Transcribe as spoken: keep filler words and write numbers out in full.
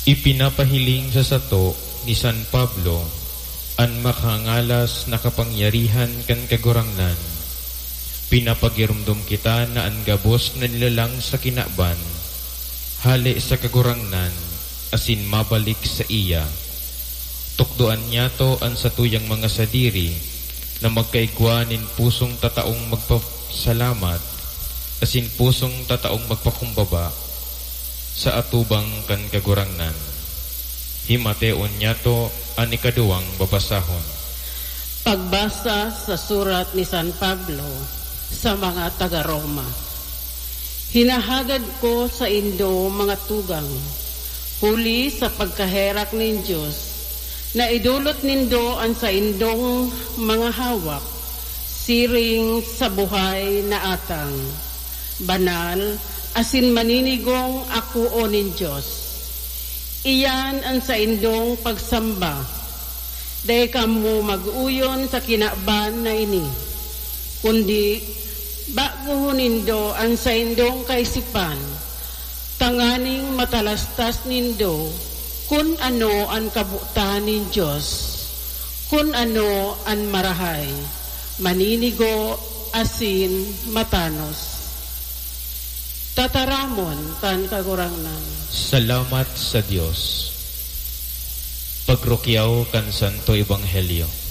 Ipinapahiling sa sato ni San Pablo an makangalas na kapangyarihan kan Kagurangnan. Pinapagiromdom kita na an gabos na nilalang sa kinaban, hale sa Kagurangnan, asin mabalik saiya. Tukdoan niyato an satuyang mga sadiri na magkaigwa nin pusong tataong magpasalamat asin pusong tataong magpakumbaba sa atubang kan Kagurangnan. Himateon niyato an ikaduwang babasahon. Pagbasa sa surat ni San Pablo sa mga taga Roma. Hinahagad ko saindo, mga tugang, huli sa pagkaherak nin Dios, na idolot nindo an saindong mga hawak siring sa buhay na atang, banal, asin maninigong akoon nin Dios. Iyan an saindong pagsamba. Dai kamo mag-uyon sa kinaban na ini, kundi bagohon nindo an saindong kaisipan, tanganing matalastas nindo kun ano an kabotan nin Dios, kun ano an marahay, maninigo, asin matanos. Tataramon kan Kagurangnan. Salamat sa Dios. Pagrukyaw kan Santo Ebanghelyo.